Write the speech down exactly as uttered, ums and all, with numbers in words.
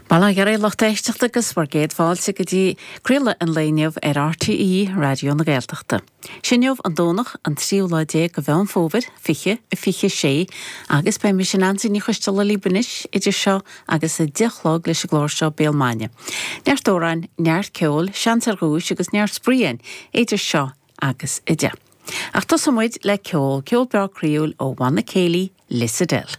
Bail ó Dhia oraibh lucht éisteachta agus bhur gcéad fáilte go dtí craoladh an lae inniu ar RTÉ Raidió na Gaeltachta. Inniu an Domhnach an tríú lá déag de Mheán Fómhair fiche a fiche sé agus beidh mise Neansaí Ní Choisteala libh anois idir seo agus a deich a chlog leis an gclár seo Béal Maidine. Neart amhráin, neart ceoil, seans ar dhuais agus neart spraoi idir seo agus a deich. Ach tosóidh muid le ceol ceol breá croíúil ó Bhanna Céilí Lissadell.